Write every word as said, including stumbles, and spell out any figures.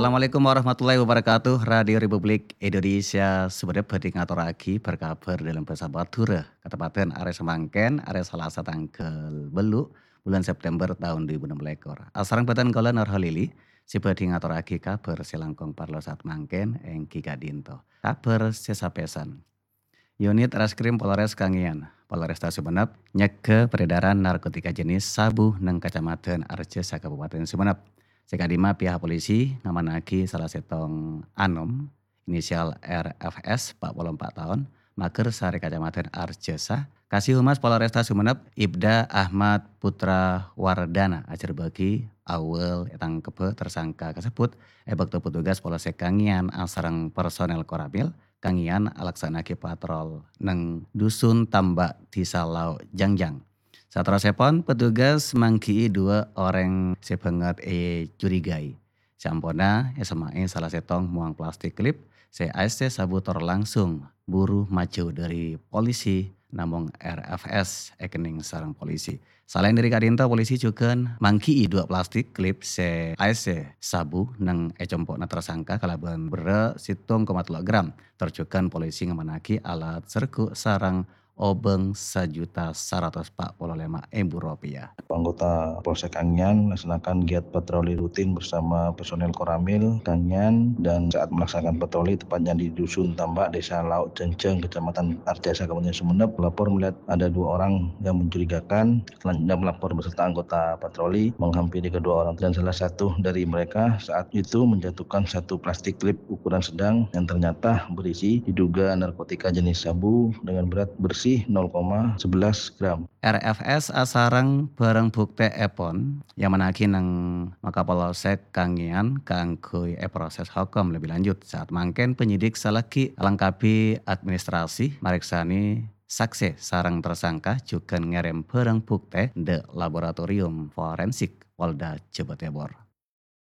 Assalamualaikum warahmatullahi wabarakatuh. Radio Republik Indonesia Sumenep bhâdhi ngatorraghi bâr-kabhâr dâlem bhâsa Madhurâ. Katempadan arè samangkèn, arè Salasa tangghâl bâllu', bulân September taon dhu èbu ennem lèkor. Asareng bhâdhân kaulâ Nur Halili, sè bhâdhi ngatorraghi kabhâr sè langkong parlo saat mangkèn èngghi ka'dinto. Kabhâr sè sapèsan. Unit Reskrim Polres Kangean, Polresta Sumenep, nyegghâ peredaran narkotika jenis sabu neng Kacamadhân Arjasa, Kabupaten Sumenep. Sè ka'dimma pihak polisi ngamannaghi sala sèttong anom, inisial R F S, empat puluh empat taon, maghâr sarè Kacamadhân Arjasa. Kasihumas Polresta Sumenep, Ibda Ahmad Putra Wardana ajhârbâghi awwâl ètangkebbhâ tersangka kasebbhut è bâkto petugas Polsek Kangean asareng personel Koramil Kangean alaksana'aghi patrol neng Dusun Tambak, Dhisa Lao' Jangjang. Saterrossèpon, petugas mangghi'i duwâ' orèng sè bângèt ècurigai. Saamponna èsemma'è sala sèttong mowang plastik klip sè aèssè sabu tor langsung buru majâu dâri polisi, namong R F S èkennèng sareng polisi. Salaèn dâri ka'dinto, polisi jhughân mangghi'i duwâ' plastik klip sè aèssè sabu neng è compo'na tersangka kalabân berrâ' sèttong koma tello' gram. Tor jhughân polisi ngamannaghi alat serghu sareng obâng sajuta saratos pa' polo lèma èbu ropèya. Anggota Polsek Kangean melaksanakan giat patroli rutin bersama personel Koramil Kangean dan saat melaksanakan patroli tepatnya di Dusun Tambak, Desa Lao' Jangjang, Kecamatan Arjasa, Kabupaten Sumenep, pelapor melihat ada dua orang yang mencurigakan. Selanjutnya, pelapor beserta anggota patroli menghampiri kedua orang dan salah satu dari mereka saat itu menjatuhkan satu plastik klip ukuran sedang yang ternyata berisi diduga narkotika jenis sabu dengan berat bersih nol koma sebelas gram. R F S asareng bhârâng buktèèpon èammanaghi neng Makapolsek Kangean kaangghuy èproses hokom lebih lanjut. Saat mangkèn, penyidik salaghi alengkapi administrasi, marèksanè saksè sareng tersangka jhughân ngèrèm bhârâng buktè dâ' laboratorium forensik Polda Jawa Timur.